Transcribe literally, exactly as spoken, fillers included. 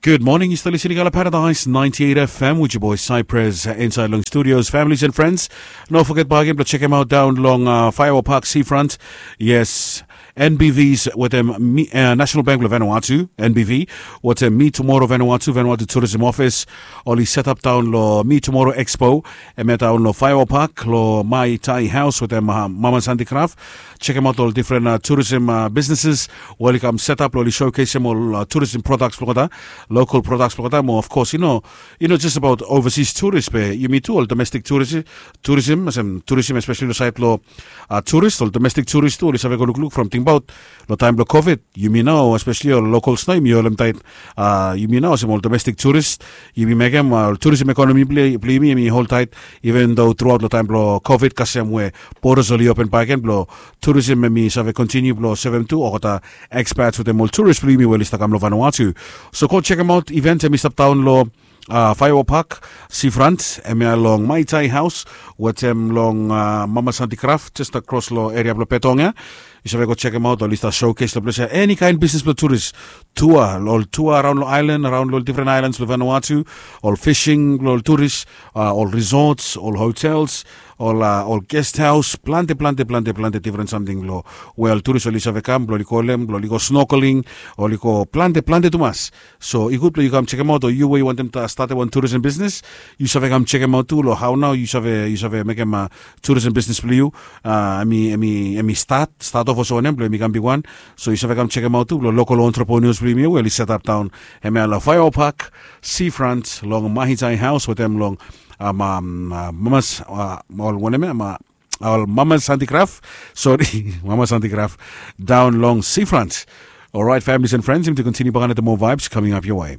Good morning, yu stap listening Ala Paradise ninety-eight F M with your boy Cypress, uh, inside long studios, families and friends. No forget bakegen blong check him out down long uh, Firework Park Seafront. Yes, N B Vs wetem mi, uh, National Bank blong Vanuatu, N B V, wetem Mi Tomorrow Vanuatu, Vanuatu Tourism Office, oli set up down lo Mi Tomorrow Expo, hemia down lo Firework Park, lo Mai Tai House wetem uh, Mama's Handicraft. Check him out ol different uh, tourism uh, businesses, we oli kam set up lo oli showcase him ol uh, tourism products blong olgeta, local products blong olgeta, mo of course, you know, you know, just about overseas tourist, be yumi tu ol domestic tourism, tourism, olsem tourism, especially lo side lo uh, tourist, ol domestic tourist tu oli save go lukluk from, tingbaot lo taem blo covid, yumi nao, especially ol locals nao, yumi holem taet, uh, yumi nao olsem ol domestic tourist, yumi mekem uh, tourism economy blo yumi, yumi hold taet, even though throughout lo taem blo covid, kasem we borders oli open bakegen blo tourism hemi save continue blo sevem tu olgeta expats wetem ol tourist blo yumi we oli stap kam lo Vanuatu. So go check him out, event hemi stap down lo uh, Firework Park Seafront, hemia long Mai Tai House wetem long uh, Mama's Handicraft, just across lo area blo Betong ia. Yu save go check him out, oli stap showcase lo ples ia, any kind business blo tourist, tour, ol tour around lo island, around lo different islands lo Vanuatu, ol fishing blo ol tourist, uh, ol resorts, ol hotels, ol uh, ol guest house, plante plante plante plante different something lo we ol tourist oli save kam blo oli go holem, blo oli go snorkeling, oli go plante plante tumas. So i gud blo yu kam check him out, o yu we yu wantem statem wan tourism business, yu save kam check him out tu lo hao nao yu save, yu save mekem uh, tourism business blo yu uh, hemi, hemi, hemi start, start off olsem wanem blo hemi kam bigwan. So yu save kam check him out tu lo local entrepreneurs blo yumi we oli set up down hemia lo Firework Park Seafront, long Mai Tai House wetem long um, um, uh, Mama's, uh, ol wanem ia, ma, ol Mama's Handicraft. Sorry, Mama's Handicraft, down long Seafront. All right, families and friends, yumi tu continue bakegen wetem more vibes coming up your way.